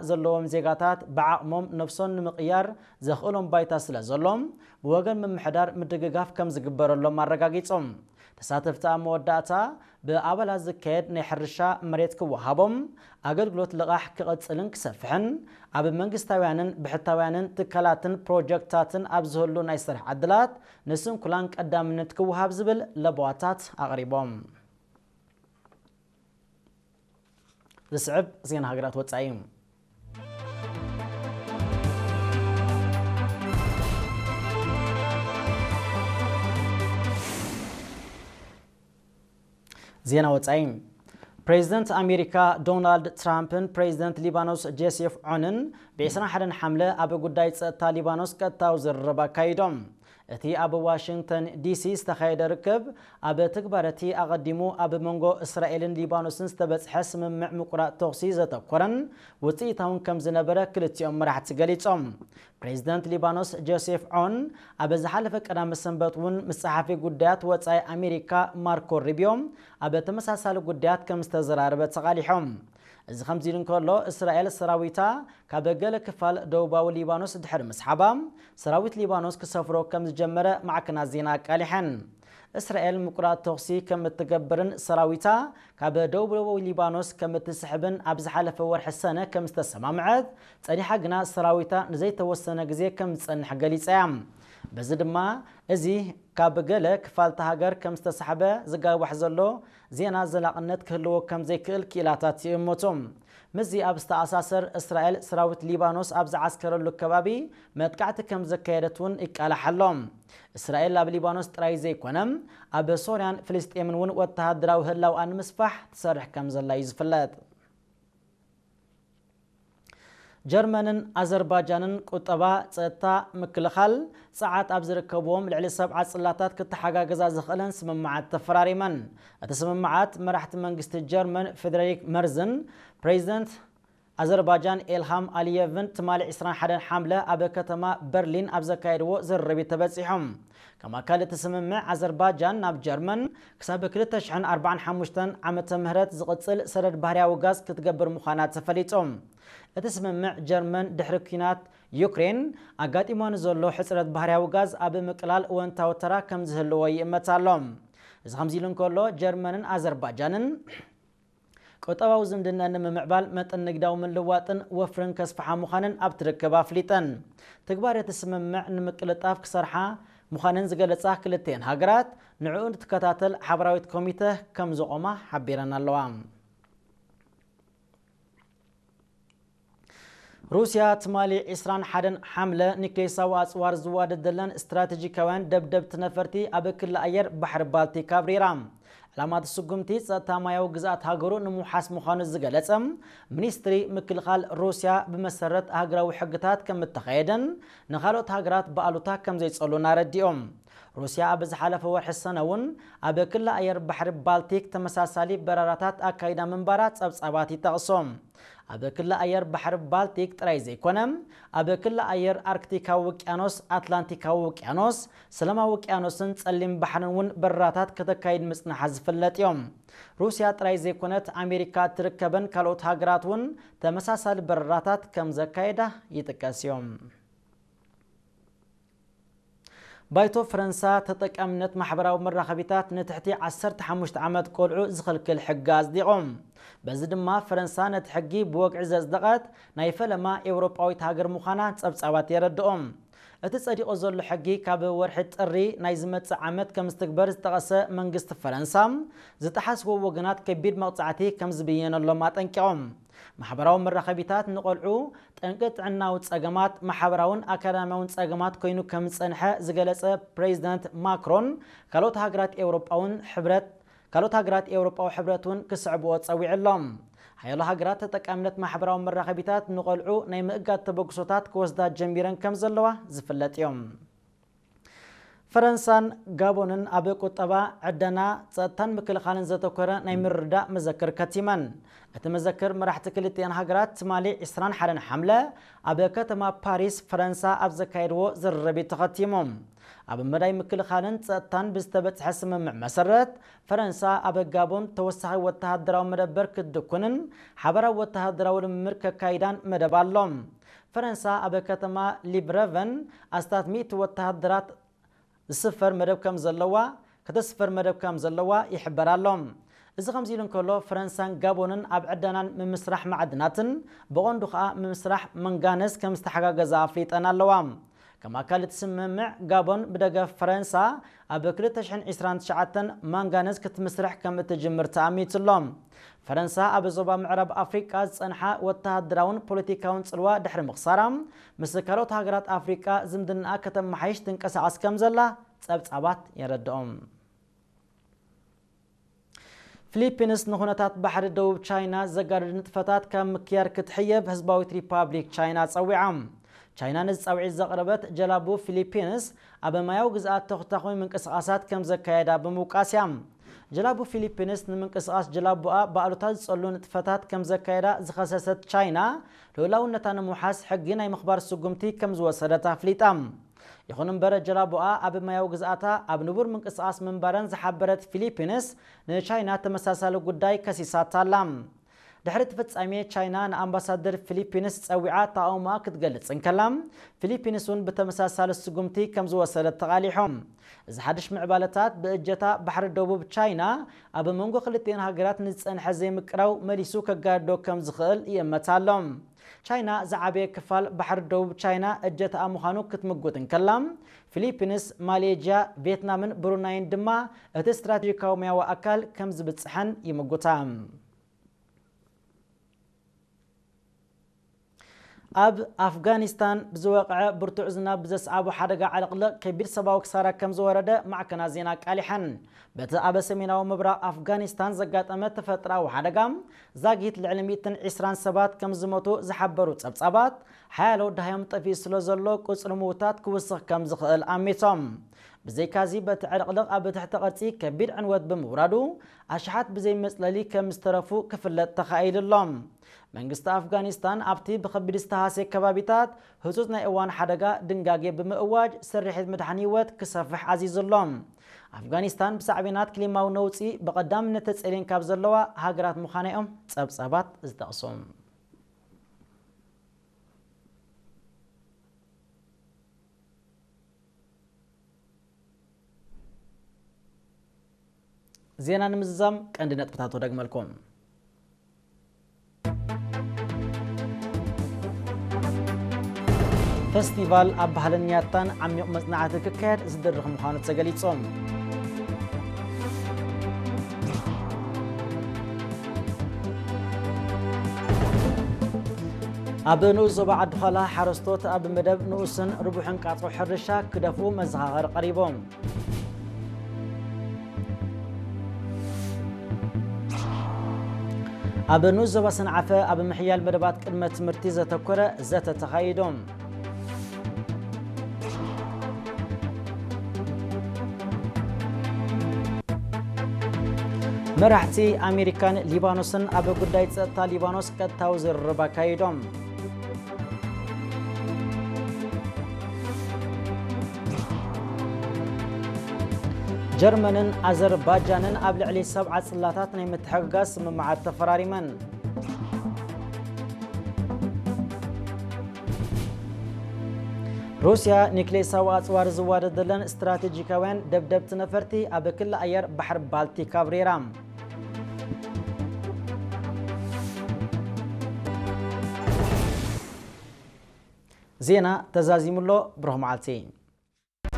ዘለዎም ዜጋታት ብዓቕሞም ነብሶም ንምቕያር ዘኽእሎም ባይታ ስለ ዘሎም፣ ብወገን ምምሕዳር ምድግጋፍ ከም ዝግበረሎም ኣረጋጊጾም። ተሳተፍቲ ኣብ መወዳእታ፣ ብኣባላት ዝካየድ ናይ ሕርሻ መሬት ክወሃቦም፣ ኣገልግሎት ልቓሕ ክቕጽልን ክሰፍሕን፣ ኣብ መንግስታውያንን ብሕታውያንን ትካላትን ፕሮጀክትታትን ኣብ ዝህሉ ናይ ስራሕ ዕድላት ንስንኩላን ቀዳምነት ክወሃብ ዝብል ለበዋታት ኣቕሪቦም። ዝስዕብ ዜና ሃገራት ወጻኢ እዩ። ዜና ወጻኢ። ፕሬዚደንት ኣሜሪካ ዶናልድ ትራምፕን ፕሬዚደንት ሊባኖስ ጆሴፍ ዖንን ብ ዕስራን ሓደን ሓምለ ኣብ ጉዳይ ጸጥታ ሊባኖስ ቀጥታዊ ዝርርብ ኣካይዶም። እቲ ኣብ ዋሽንግተን ዲሲ ዝተኻየደ ርክብ፣ ኣብ ትግባረ እቲ ኣቐዲሙ ኣብ መንጎ እስራኤልን ሊባኖስን ዝተበጽሐ ስምምዕ ምቁራጽ ተኹሲ ዘተኮረን ውጽኢታውን ከም ዝነበረ ክልቲኦም መራሕቲ ገሊጾም። ፕሬዚደንት ሊባኖስ ጆሴፍ ዖን ኣብ ዝሓለፈ ቀዳመ ሰንበት እውን ምስ ጸሓፊ ጉዳያት ወጻኢ ኣሜሪካ ማርኮ ሩቢዮ ኣብ ተመሳሳሊ ጉዳያት ከም ዝተዘራረበ ተቓሊሖም። እዚ ከምዚ ኢሉ እንከሎ፣ እስራኤል ሰራዊታ ካብ ገለ ክፋል ደቡባዊ ሊባኖስ ድሕሪ ምስሓባ፣ ሰራዊት ሊባኖስ ክሰፍሮ ከም ዝጀመረ ማዕከናት ዜና ኣቃሊሐን። እስራኤል ምቁራጽ ተኹሲ ከም እትገብርን ሰራዊታ ካብ ደቡባዊ ሊባኖስ ከም እትስሕብን ኣብ ዝሓለፈ ወርሒ ሰነ ከም ዝተሰማምዐት ጸኒሓ፣ ግና ሰራዊታ ንዘይተወሰነ ግዜ ከም ዝጸንሕ ገሊጻ እያ። በዚ ድማ፣ እዚ ካብ ገለ ክፋልቲ ሃገር ከም ዝተሳሕበ ዝጋዋሕ ዘሎ ዜና ዘላቕነት ክህልዎ ከም ዘይክእል ክኢላታት ይእምቱ። ምስዚ ኣብ ዝተኣሳሰር፣ እስራኤል ሰራዊት ሊባኖስ ኣብ ዝዓስከረሉ ከባቢ መጥቃዕቲ ከም ዘካየደት እውን ይቃላሕ ኣሎ። እስራኤል ኣብ ሊባኖስ ጥራይ ዘይኮነ፣ ኣብ ሶርያን ፍልስጤምን እውን ወተሃደራዊ ህላውኣ ንምስፋሕ ትሰርሕ ከም ዘላ እዩ ዝፍለጥ። ጀርመንን ኣዘርባጃንን ቁጠባ፣ ጸጥታ፣ ምክልኻል፣ ጸዓት ኣብ ዝርከብዎም ልዕሊ ሰብዓ ጽላታት ክተሓጋገዛ ዝኽእለን ስምምዓት ተፈራሪመን። እቲ ስምምዓት፣ መራሕቲ መንግስቲ ጀርመን ፍሬድሪክ መርዝን ፕሬዚደንት ኣዘርባጃን ኤልሃም ኣሊየቭን ትማሊ ዕስራን ሓደን ሓምለ ኣብ ከተማ በርሊን ኣብ ዘካየድዎ ዝርርብ ተበጺሖም። ከም ኣካል እቲ ስምምዕ፣ ኣዘርባጃን ናብ ጀርመን ክሳብ ክልተ ሽሕን ኣርባዓን ሓሙሽተን ዓመተ ምህረት ዝቕጽል ሰደድ ባህርያዊ ጋዝ ክትገብር ምዃና ተፈሊጡ። እቲ ስምምዕ፣ ጀርመን ድሕሪ ኲናት ዩክሬን ኣጋጢማ ንዘሎ ሕጽረት ባህርያዊ ጋዝ ኣብ ምቅላል እወንታዊ ተራ ከም ዝህልዎ ይእመት ኣሎ። እዚ ከምዚ ኢሉ እንከሎ፣ ጀርመንን ኣዘርባጃንን ቁጠባዊ ዝምድና ንምምዕባል መጠን ንግዳዊ ምልዋጥን ወፍርን ከስፍሓ ምዃንን ኣብቲ ርክብ ኣፍሊጠን። ትግባረ እቲ ስምምዕ ንምቅልጣፍ ክሰርሓ ምዃነን ዝገለጻ ክልቲኤን ሃገራት፣ ንዕኡ ንትከታተል ሓበራዊት ኮሚተ ከም ዘቖማ ሓቢረን ኣለዋ። ሩስያ ትማሊ ዕስራን ሓደን ሓምለ ኒክሌሳዊ ኣጽዋር ዝዋደደለን ስትራቴጂካውያን ደብደብቲ ነፈርቲ ኣብ ክሊ ኣየር ባሕሪ ባልቲክ ኣብሪራ። ዕላማ እቲ ስጉምቲ ጸጥታ ማያዊ ግዝኣት ሃገሩ ንምውሓስ ምዃኑ ዝገለጸ ሚኒስትሪ ምክልኻል ሩስያ፣ ብመሰረት ሃገራዊ ሕግታት ከም እተኻየደን ንኻልኦት ሃገራት ብኣሉታ ከም ዘይጸሉን ኣረዲኦም። ሩስያ ኣብ ዝሓለፈ ወርሒ ሰነ እውን ኣብ ክሊ ኣየር ባሕሪ ባልቲክ ተመሳሳሊ በረራታት ኣካይዳ ምንባራ ጸብጻባት ይጠቕሶ። ኣብ ክሊ ኣየር ባሕሪ ባልቲክ ጥራይ ዘይኮነ፣ ኣብ ክሊ ኣየር ኣርክቲካዊ ውቅያኖስ፣ ኣትላንቲካዊ ውቅያኖስ፣ ሰላማዊ ውቅያኖስን ጸሊም ባሕርን እውን በረራታት ከተካይድ ምጽናሓ ዝፍለጥ እዮም። ሩስያ ጥራይ ዘይኮነት፣ ኣሜሪካ እትርከበን ካልኦት ሃገራት እውን ተመሳሳሊ በረራታት ከም ዘካየዳ ይጥቀስ እዮም። ባይቶ ፈረንሳ ተጠቃምነት ማሕበራዊ መራኸቢታት ንትሕቲ ዓሰርተ ሓሙሽተ ዓመት ቆልዑ ዝኽልክል ሕጊ ኣጽዲቖም። በዚ ድማ ፈረንሳ ነቲ ሕጊ ብወግዒ ዘጽደቐት ናይ ፈለማ ኤውሮጳዊት ሃገር ምዃና ጸብጻባት የረድኦም። እቲ ጸዲቑ ዘሎ ሕጊ ካብ ወርሒ ጥሪ ናይ ዝመጽእ ዓመት ከም ዝትግበር ዝጠቐሰ መንግስቲ ፈረንሳ፣ ዝጠሓስዎ ወገናት ከቢድ መቕጻዕቲ ከም ዝብየነሎም ኣጠንቂቖም። ማሕበራዊ መራኸቢታት ንቆልዑ ጠንቂ ጥዕናዊ ጸገማት፣ ማሕበራውን ኣካዳሚያውን ጸገማት ኮይኑ ከም ዝጸንሐ ዝገለጸ ፕሬዚደንት ማክሮን፣ ካልኦት ሃገራት ኤውሮጳውን ሕብረት ካልኦት ሃገራት ኤውሮጳዊ ሕብረት እውን ክስዕብዎ ጸዊዑ ኣሎ። ሓያሎ ሃገራት ተጠቃምነት ማሕበራዊ መራኸቢታት ንቆልዑ ናይ ምእጋድ ተበግሶታት ክወስዳ ጀሚረን ከም ዘለዋ ዝፍለጥ እዮም። ፈረንሳን ጋቦንን ኣብ ቁጠባ፣ ዕደና፣ ጸጥታን ምክልኻልን ዘተኮረ ናይ ምርድዳእ መዘክር ከቲመን። እቲ መዘክር መራሕቲ ክልቲኣን ሃገራት ትማሊ ዕስራን ሓደን ሓምለ ኣብ ከተማ ፓሪስ ፈረንሳ ኣብ ዘካየድዎ ዝርርብ እዩ ተኸቲሙ። ኣብ መዳይ ምክልኻልን ጸጥታን ብዝተበጽሐ ስምምዕ መሰረት፣ ፈረንሳ ኣብ ጋቦን ተወሳኺ ወተሃደራዊ መደበር ክትድኩንን ሓበራዊ ወተሃደራዊ ልምምድ ከካይዳን መደብ ኣሎ። ፈረንሳ ኣብ ከተማ ሊብረቨን ኣስታት ሚእቲ ወተሃደራት ዝስፈር መደብ ከም ዘለዋ፣ ከተስፍር መደብ ከም ዘለዋ ይሕበር ኣሎ። እዚ ከምዚ ኢሉ እንከሎ፣ ፈረንሳን ጋቦንን ኣብ ዕደናን ምምስራሕ ማዕድናትን፣ ብቐንዱ ከኣ ምምስራሕ መንጋነዝ ከም ዝተሓጋገዛ ኣፍሊጠን ኣለዋ። ከም ኣካል እቲ ስምምዕ፣ ጋቦን ብደገፍ ፈረንሳ ኣብ ክልተ ሽሕን ዕስራን ትሽዓተን ማንጋነዝ ክትምስርሕ ከም እትጅምር ተኣሚቱ ኣሎ። ፈረንሳ ኣብ ዞባ ምዕራብ ኣፍሪቃ ዝጸንሓ ወተሃደራውን ፖለቲካውን ጽልዋ ድሕሪ ምኽሳራ፣ ምስ ካልኦት ሃገራት ኣፍሪቃ ዝምድናኣ ከተመሓይሽ ትንቀሳቐስ ከም ዘላ ጸብጻባት የረድኦም። ፊሊፒንስ ንኹነታት ባሕሪ ደቡብ ቻይና ዘጋድድ ንጥፈታት ካብ ምክያድ ክትሕየብ ህዝባዊት ሪፓብሊክ ቻይና ጸዊዓ። ቻይና ነዚ ጻውዒት ዘቕረበት፣ ጀላቡ ፊሊፒንስ ኣብ ማያዊ ግዝኣት ተኹታኹሚ ምንቅስቓሳት ከም ዘካየዳ ብምውቃስ እያ። ጀላቡ ፊሊፒንስ ንምንቅስቓስ ጀላቡኣ ብኣሉታ ዝጸሉ ንጥፈታት ከም ዘካየዳ ዝኸሰሰት ቻይና፣ ልኡላውነታ ንምውሓስ ሕጊ ናይ ምኽባር ስጉምቲ ከም ዝወሰደት ኣፍሊጣ። ይኹን እምበር፣ ጀላቡኣ ኣብ ማያዊ ግዝኣታ ኣብ ንቡር ምንቅስቓስ ምንባረን ዝሓበረት ፊሊፒንስ፣ ንቻይና ተመሳሳሊ ጉዳይ ከሲሳታ ኣላ። ድሕሪ እቲ ፍጻሜ፣ ቻይና ንኣምባሳደር ፊሊፒንስ ጸዊዓ ተቓውሞኣ ክትገልጽ እንከላ፣ ፊሊፒንስ እውን ብተመሳሳሊ ስጉምቲ ከም ዝወሰደት ተቓሊሑ። እዚ ሓድሽ ምዕባለታት፣ ብእጀታ ባሕሪ ደቡብ ቻይና ኣብ መንጎ ክልቲኣን ሃገራት ንዝጸንሐ ዘይምቅራው መሊሱ ከጋድዶ ከም ዝኽእል ይእመት ኣሎ። ቻይና ዝዓበየ ክፋል ባሕሪ ደቡብ ቻይና እጀታኣ ምዃኑ ክትምጉት እንከላ፣ ፊሊፒንስ፣ ማሌዥያ፣ ቪየትናምን ብሩናይን ድማ እቲ ስትራቴጂካዊ ሙያዊ ኣካል ከም ዝብጽሐን ይምጉታ። ኣብ ኣፍጋኒስታን ብዝወቕዐ ብርቱዕ ዝናብ ብዘስዓቦ ሓደጋ ዕልቕልቕ ከቢድ ሰብኣዊ ክሳራ ከም ዝወረደ ማዕከናት ዜና ኣቃሊሐን። በቲ ኣብ ሰሜናዊ ምብራቕ ኣፍጋኒስታን ዘጋጠመ ተፈጥሮኣዊ ሓደጋ ዛጊት ልዕሊ ሚእትን ዕስራን ሰባት ከም ዝሞቱ ዝሓበሩ ጸብጻባት፣ ሓያሎ ደሃዮም ጠፊኡ ስለ ዘሎ ቁጽሪ ምዉታት ክውስኽ ከም ዝኽእል ኣሚቶም። ብዘይካዚ፣ በቲ ዕልቕልቕ ኣብ ትሕቲ ቅርጺ ከቢድ ዕንወት ብምውራዱ፣ ኣሽሓት ብዘይ መጽለሊ ከም ዝተረፉ ክፍለጥ ተኻኢሉ ኣሎ። መንግስቲ ኣፍጋኒስታን ኣብቲ ብኸቢድ ዝተሃስየ ከባቢታት ህጹጽ ናይ እዋን ሓደጋ ድንጋጌ ብምእዋጅ፣ ስርሒት ምድሓን ህይወት ክሰፍሕ ኣዚዙ ኣሎ። ኣፍጋኒስታን ብሳዕቤናት ክሊማዊ ነውጺ ብቐዳምነት ተጸልየን ካብ ዘለዋ ሃገራት ምዃና እዮም ጸብጻባት ዝጠቕሱ። ዜና ንምዝዛም ቀንዲ ነጥብታቱ ደግመልኩም። ፈስቲቫል ኣብ ባህልን ያታን ዓሚቕ መጽናዕቲ ክካየድ ዝድርኽ ምዃኑ ተገሊጹ። ኣብ ንኡስ ዞባ ዓዲ ዃላ ሓረስቶት ኣብ መደብ ንኡስን ርቡሕን ቃጽሮ ሕርሻ ክደፍኡ መዘኻኸሪ ቀሪቦም። ኣብ ንኡስ ዞባ ሰንዓፈ ኣብ ምሕያል መደባት ቅድመ ትምህርቲ ዘተኮረ ዘተ ተኻይዶም። መራሕቲ ኣሜሪካን ሊባኖስን ኣብ ጉዳይ ጸጥታ ሊባኖስ ቀጥታዊ ዝርርብ ኣካይዶም። ጀርመንን ኣዘርባጃንን ኣብ ልዕሊ ሰብዓ ጽላታት ናይ ምትሕግጋዝ ስምምዓት ተፈራሪመን። ሩስያ ኒክሌሳዊ ኣጽዋር ዝዋደደለን ስትራቴጂካውያን ደብደብቲ ነፈርቲ ኣብ ክሊ ኣየር ባሕሪ ባልቲክ ኣብሪራ። ዜና ተዛዚሙ ኣሎ። ብሩኽ መዓልቲ።